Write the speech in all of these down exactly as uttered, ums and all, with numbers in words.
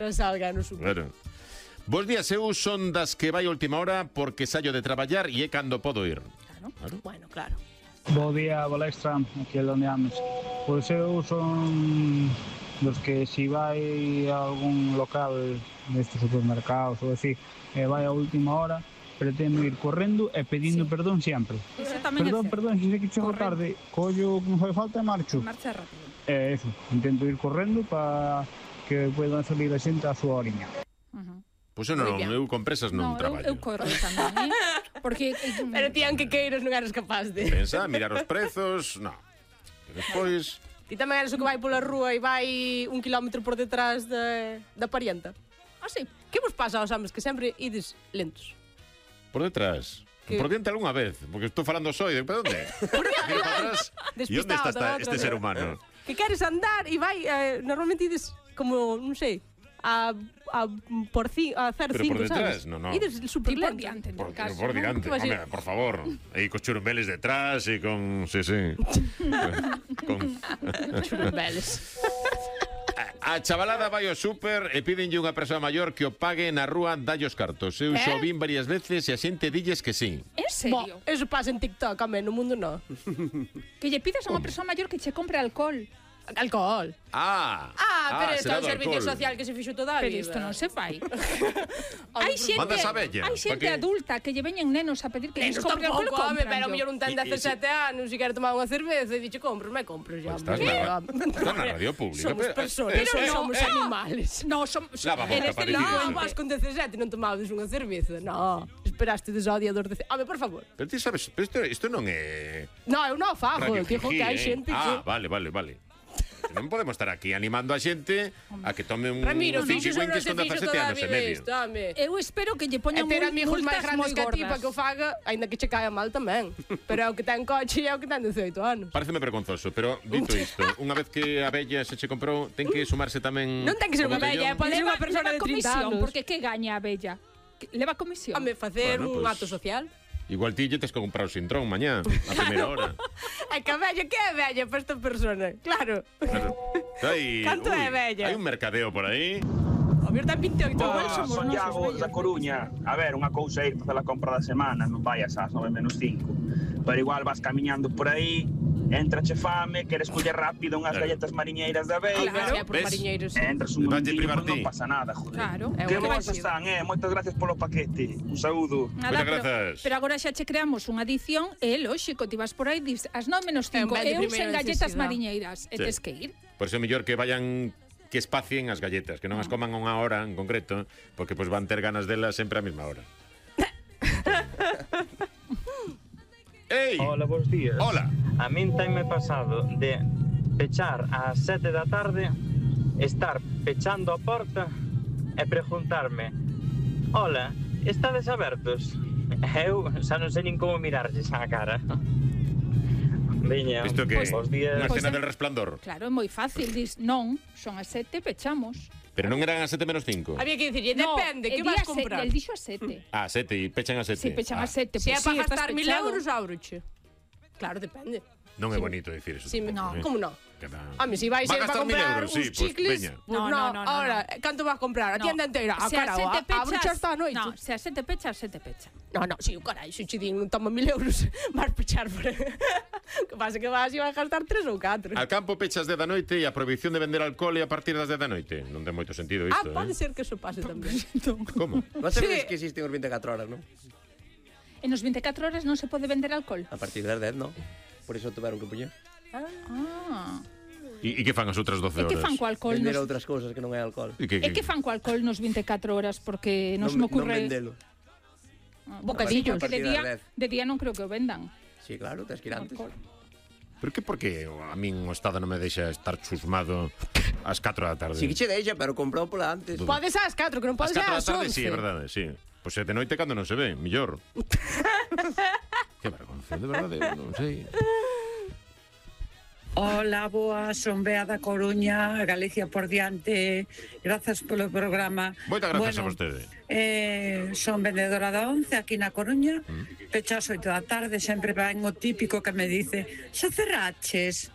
Non salga no super. Claro. Bos días, eu son das que vai a última hora porque saio de traballar e é cando podo ir. Claro, claro. Bueno, claro. Bo día, Bolextra, aquí é onde ames. Pois eu son dos que si vai a algún local nestes supermercados ou así, e vai a última hora, pretendo ir correndo e pedindo sí. perdón sempre. Perdón, perdón, se sei que chego tarde, collo que non fai falta e marcho. Marcha rápido. E eso, intento ir correndo para que poidan salir a xente a súa oriña. Uh-huh. Pois eu non, eu con presas non no, traballo. Eu, eu corro tamén, eh? Porque... Pero ti, aunque queiras, non eres capaz de... Pensa, mirar os prezos, non. E despois... Ti tamén eres o que vai pola rúa e vai un kilómetro por detrás de, da parienta. Ah, sí. Que vos pasa aos homes que sempre ides lentos? Por detrás. Que... Por diante algunha vez, porque estou falando só e de onde? Miro para atrás. E onde está esta, este ser humano? Que queres andar e vai, eh, normalmente ides como, non sei, a, a por ci, a hacer pero cinco, por detrás, sabes? no, no. Ides super lento. Por diante, en por, caso, por diante, ¿no? Home, por favor. Aí cos churumbeles detrás e con... Sí, sí. con... Churumbeles. A chavalada vai ao súper e pídenlle unha persoa maior que o pague na rúa dalle os cartos. Eu eh? xo vin varias veces e a xente dilles que sí. En serio? Bo, eso pasa en TikTok, a no mundo no. Que lle pidas a unha persoa maior que che compre alcohol. Alcohol. Ah, ah, pero ah, isto é un servicio alcohol. social que se fixo toda a Pero vida. isto non se fai. Hai xente, Mandas a bella, hai xente pa que- adulta que lle veñen nenos a pedir que lles Nenos compre alcohol, tampouco, home, compran. pero a mellor un ten E- e dezasete anos e quere tomar unha cerveza e dixe, compro, me compro xa. Pues estás hombre. na, estás na radio pública. Somos pero- personas, eso pero é- non somos eh, animales. No, som, Lava a boca, eres parecido. No, delincuente. vas con dezasete non tomabas unha cerveza. No, esperaste des ao día dos dezasete. Home, por favor. Pero ti sabes, pero isto, isto non é... No, eu non fago, Radio eu digo Jiji, que hai eh? xente Ah, que... vale, vale, vale. Que non podemos estar aquí animando a xente a que tome un Ramiro, Fiji fixo non Winkies se con fixo dezasete toda a anos e vida medio. isto, home. Eu espero que lle E poñan ter amigos máis multas grandes moi que a ti gordas. para que o faga, aínda que che caia mal tamén. Pero é o que ten coche e é o que ten dezoito anos. Pareceme vergonzoso, pero dito isto, unha vez que a bella se che comprou, ten que sumarse tamén... Non ten que ser o unha bella, botellón? pode ser Leva, unha persona leva de trinta comisión, anos. porque que gaña a bella? Que- Leva comisión. Home, facer Bueno, un pues- acto social. Igual ti lle tes que comprar o sintrón mañá, a primeira hora. É que a bella, que é bella para esta persona? Claro. Claro. Hai, Canto é bella? Hai un mercadeo por aí. O meu ten vinteoito Igual anos. somos Son nosos Iago vellos. da Coruña. A ver, unha cousa é ir facer a compra da semana, non vayas ás nove menos cinco. Pero igual vas camiñando por aí, entrache fame, queres coller rápido unhas Claro. galletas mariñeiras da Veiga, Claro, é por ¿ves? mariñeiros. e entras un Valle momentinho, privar pois non ti. pasa nada, joder. Claro. É Que un vos divertido. están, eh? Moitas gracias polo paquete. Un saúdo. Nada, Moitas pero, grazas. pero agora xa che creamos unha edición e é lóxico, ti vas por aí dis as nove menos É un cinco ben de e eu primeira sen galletas necesidade. mariñeiras e Sí. tes que ir. Por iso é mellor que vayan que espacien as galletas, que non as coman a unha hora en concreto, porque pois van ter ganas delas sempre á mesma hora. Ei! Hola, bons días. Hola. A min tenme pasado de pechar ás sete da tarde, estar pechando a porta e preguntarme: hola, estades abertos? Eu xa non sei nin como mirarlles á cara. Veña, Isto que é? bons días. Unha Pois escena é. del resplandor. Claro, é moi fácil, dis, non, son as sete, pechamos. Pero non eran as sete menos cinco. Había que dicirlle, depende, no, que el vas día se- comprar? El dixo a sete. Ah, sete, e pechan a sete. Si, pechan ah. a sete. Se é pois para sí, estás gastar mil pechado. euros, áuroche. Claro, depende. Non é bonito dicir eso. Sí, tampouco, no, eh. como non? Que va. Home, si vais Va a ir gastar para mil comprar euros, uns sí, pues, chicles, veña. pues No, no, no, no, no, ahora, no. canto vas a comprar? A No. tienda inteira? Ah, Se a carao, sete a, a pechas, hasta a noite. no, se a sete pechas, sete pecha. No, no, si, carai, se che din, toma mil euros, vas pechar por... que pasa que vas e vas a gastar tres ou catro. Al campo pechas de da noite e a prohibición de vender alcohol e a partir das de da noite. Non ten moito sentido Ah, isto, pode eh? ser que eso pase tamén. Como? Non Sí. sabedes que existen os veinticuatro horas, non? En os veinticuatro horas non se pode vender alcohol. A partir das dez, non? Por iso tuveron que poñer. Ah. E, e que fan as outras doce E horas? que fan co alcohol? Vender Nos... outras cousas que non é alcohol. E que, E que fan co alcohol nos veinticuatro horas? Porque non, se me Non ocurre... vendelo. Ah, Bocadillos. porque de A partir día, das dez. de día non creo que o vendan. Sí, claro, tens que ir antes. Alcohol. Pero que por que a min o Estado non me deixa estar chusmado ás catro da tarde? Si que che deixa, pero comprou pola antes. Podes ás catro, que non Ás podes catro da ás tarde, once. sí, é verdade, sí. Pois é de noite cando non se ve, millor. Que vergonza, de verdade, eu non sei. Hola, boa, son Bea da Coruña, Galicia por diante. Grazas polo programa. Moitas grazas bueno, a vostede. Eh, son vendedora da once aquí na Coruña. Mm. Pecha as oito da tarde, sempre ven o típico que me dice: xa cerraches?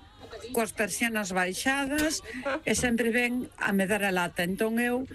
Coas persianas baixadas e sempre ven a me dar a lata. Entón eu